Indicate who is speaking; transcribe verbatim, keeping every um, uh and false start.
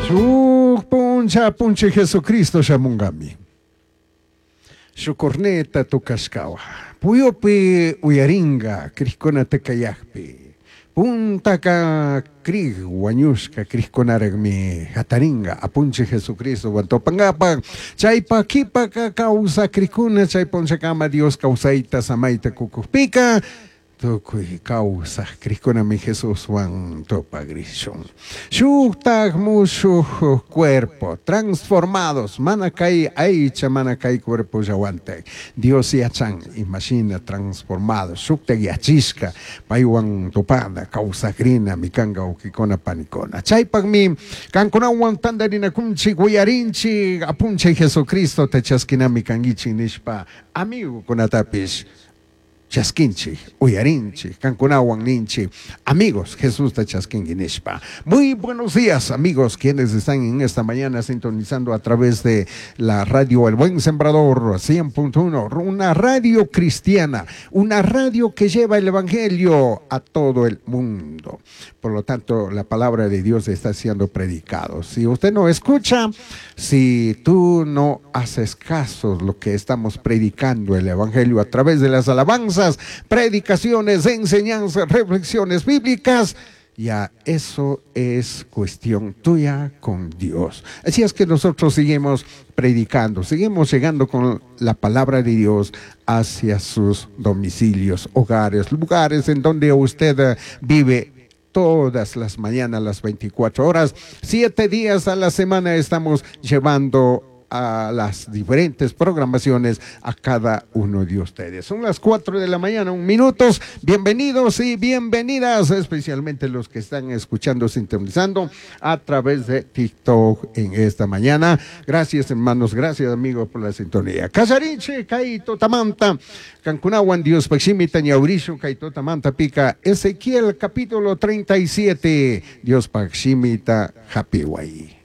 Speaker 1: Shuk puncha puncha Jesucristo shamungami. Shuk corneta tukashkawa. Puyupi uyaringa krikkunata kayakpi. Puntaka krik wañushka krikkunaraqmi hataringa apunchik Jesucristo tupangapaq. Chaypa kipaka kawsaq krikuna chay punchakama Dios kawsayta samayta kukukpika tukuy kawsaq krikkunami Jesuswan tupagrishun. Shuktak mushuq cuerpo transformados mana kay aycha mana kay cuerpollawantak Dios yachan imashina transformados shuktak yachishka paywan tupana kawsakrina mikanka wawkikuna panikuna. Chaypaqmi kankunawan tantarinakunchik uyarinchik apunchik Jesucristo ta chaskinami kankichik nishpa amigukunatapish chaskinchik, uyarinchik, kankunawan ninchik, amigos, Jesús ta chaskinki nishpa. Muy buenos días, amigos, quienes están en esta mañana sintonizando a través de la radio El Buen Sembrador cien punto uno, una radio cristiana, una radio que lleva el evangelio a todo el mundo. Por lo tanto, la palabra de Dios está siendo predicado. Si usted no escucha, si tú no haces caso lo que estamos predicando el evangelio a través de las alabanzas, predicaciones, enseñanzas, reflexiones bíblicas, ya eso es cuestión tuya con Dios. Así es que nosotros seguimos predicando, seguimos llegando con la palabra de Dios hacia sus domicilios, hogares, lugares en donde usted vive. Todas las mañanas, las veinticuatro horas, siete días a la semana estamos llevando a las diferentes programaciones a cada uno de ustedes. Son las cuatro de la mañana, un minutos. Bienvenidos y bienvenidas, especialmente los que están escuchando, sintonizando a través de TikTok en esta mañana. Gracias, hermanos, gracias, amigos, por la sintonía. Casarinche, Kaito Tamanta, Cancunawan, Dios Paximita, Ñaurisho, Kaito Tamanta, Pica, Ezequiel, capítulo treinta y siete, Dios Paximita, Happy Way.